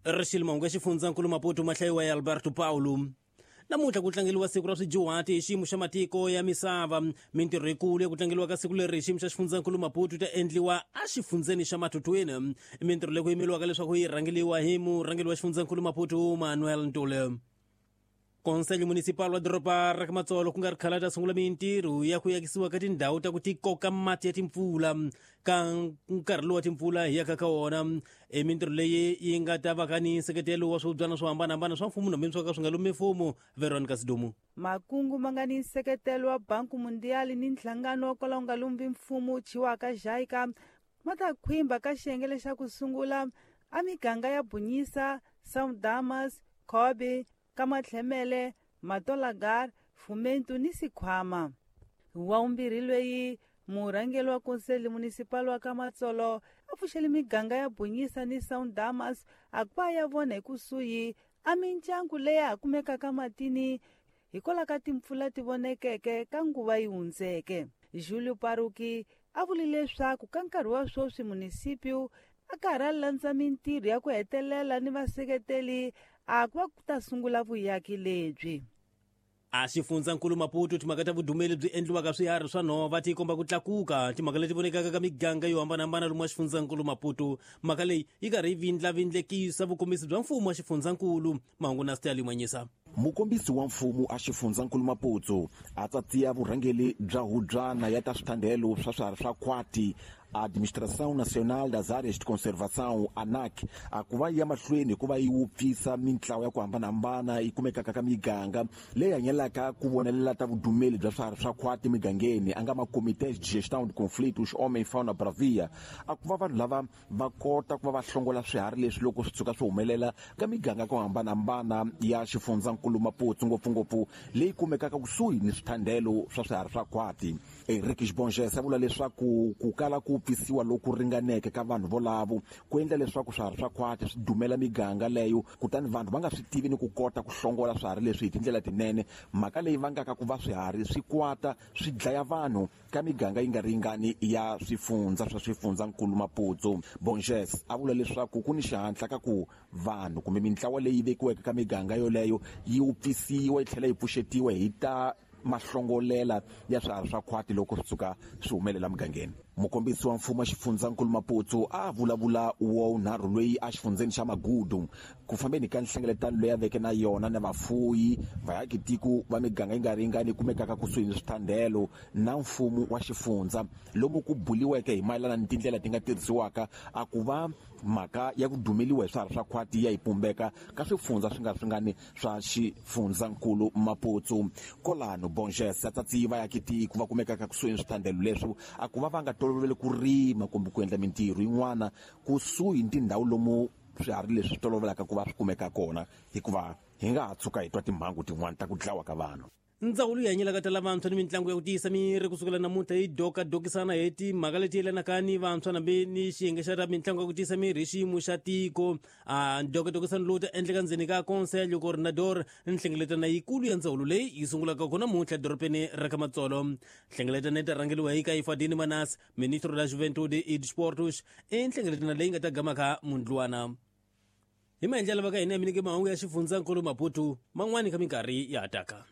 Rixile mahungu ya xifundzankulu Maputo ma hlayiwa ya Alberto Paulo. Namuntlha ku tlangeriwa siku ra swidyuhati hi xiyimo xa matiko ya misava. Mintirho yikulu ya ku tlangeriwa ka siku leri hi xiyimo xa xifundzankulu Maputo yi ta endliwa exifundzeni xa Matutuine. Mintirho leyi ku yimeriwaka leswaku yi rhangeriwa hi murhangeri wa xifundzankulu Maputo Manuel Ntuli. Conselho Municipal wa doroba ra ka Matsolo ku nga ri khale ta sungula mintirho ya ku yakisiwa ka tindhawu ta ku tikoka mati ya timpfula ka nkarhi lowu wa timpfula hi yaka ka wona. I mintirho leyi yi nga ta va ka ni nseketelo wa swibyana swo hambanahambana swa mfumo nambe swo ka swi nga lumi mfumo. Veronica Sidumu. Makungu ma nga ni nseketelo wa Banku Mundial ni nhlangano wa kwala wu nga lumbi mfumo wu thyiwaka JICA ma ta khwimba ka xiyenge lexa ku sungula a miganga ya Bunyisa, São Damas, Kobe, Kamatlhemele, Matolagar, Fumento ni Sikhwama. Wa vumbirhi loyi murhangeri wa Conselho Municipal wa Kamatsolo a pfuxele miganga ya Bunyisa ni São Damas a ku va ya vona hi kusuhi a mindyangu leyi ha kumekaka matini hikwalaho ka timpfula ti vonekeke ka nguva yi hundzeke. Julio Paruki a vule leswaku ka nkarhi wa sweswi munisipio a karhi a landza mintirho ya ku hetelela ni vaseketeli a ku va ku ta sungula vuyaki lebyi. A xifundzankulu Maputo timhaka ta vudumeli byi endliwaka swiharhi swa nhova ti komba ku tlakuka timhaka leti vonekaka ka miganga yo hambanahambana lomu wa xifundzankulu Maputo. Mhaka leyi yi karhi yi vindlavindlekisa vukombisi bya mfumo wa xifundzankulu. Mahungu na Stanley Mwanyisa. Mukombisi wa mfumo a xifundzankulu Maputo a tsatsiya vurhangeri bya hubyana ya ta swithandelo swa swiharhi swa khwati Administração Nacional das Áreas de Conservação, ANAC, a ku va yi ya mahlweni hi ku va yi wupfisa mintlawa ya ku hambanahambana yi kumekaka ka miganga leyi hanyelaka ku vonelela ta vudumeli bya swiharhi swa khwati emigangeni, a nga ma-Comités de Gestão de Conflitos Homem Fauna Bravia, a ku va vanhu lava va kota ku va va hlongola swiharhi leswi loko swi tshuka swi humelela ka miganga ku hambanahambana ya xifundzankulu Maputo, ngopfungopfu leyi kumekaka kusuhi ni swithandelo swa swiharhi swa khwati. Henrique Xibonges a vula leswaku ku kala ku pfisiwa loku ringaneke ka vanhu volavo ku endla leswaku swiharhi swa khwati swi dumela miganga leyo, kutani vanhu va nga swi tivi ni ku kota ku hlongola swiharhi leswi hi tindlela tinene, mhaka leyi vangaka ku va swiharhi swi kwata swi dlaya vanhu ka miganga yi nga ri yingani ya swifundza swa xifundzankulu Maputo. Bonges a vula leswaku ku ni xihatla ka ku vanhu kumbe mintlawa leyi vekiweke ka miganga yoleyo yi wupfisiwa yi tlhela yi pfuxetiwa hi ta mahlongolela ya swiharhi swa khwati loko swi tshuka swi humelela mugangeni. Mukombisi wa mfumo wa xifundzankulu Maputo a vulavula wa vunharhu loyi exifundzeni xa Magudu ku fambeni ka nhlengeletano leyi a veke na yona na vafuyi, vaakitiko va miganga yi nga ri yingani yi kumekaka kusuhi ni swithandelo na mfumo wa xifundza, lomu ku buliweke hi mayelana ni tindlela ti nga tirhisiwaka a ku va mhaka ya ku dumeliwa hi swiharhi swa khwati ya yi pumbeka ka swifundza swi nga swingani swa xifundzankulu Maputo. Kolano Bonges a tsatsi vaakitiko va kumekaka kusuhi ni swithandelo leswi a ku va va nga toloveli ku rima kumbe ku endla mintirho yin'wana kusuhi ni tindhawu lomu swiharhi leswi swi tolovelaka ku va swi kumeka kona, hikuva hi nga ha tshuka hi twa timhangu tin'wana ta ku dlawa ka vanhu. Ndzawulo yi hanyelaka ta lavantshwa ni mitlangu ya ku tiyisa miri ku sukela namuntlha yi dokadokisana hi timhaka leti yelanaka ni vantshwa nambe ni xiyenge xa ta mitlangu ya ku tiyisa miri hi xiyimo xa tiko. A ndokadokisano lowu ta endleka ndzeni ka Conselho Coordenador, nhlengeletano yikulu ya ndzawulo leyi yi sungulaka kona namuntlha edorobeni ra ka Matsolo. Nhlengeletano yi ta rhangeriwa hi Kaifadini Manas, Ministro da Juventude e Desportos, i nhlengeletano leyi nga ta gamaka mundlwana. Hi maendlelo va ka hina ya mi nyike mahungu ya xifundzankulu Maputo man'wani ka minkarhi ya ha taka.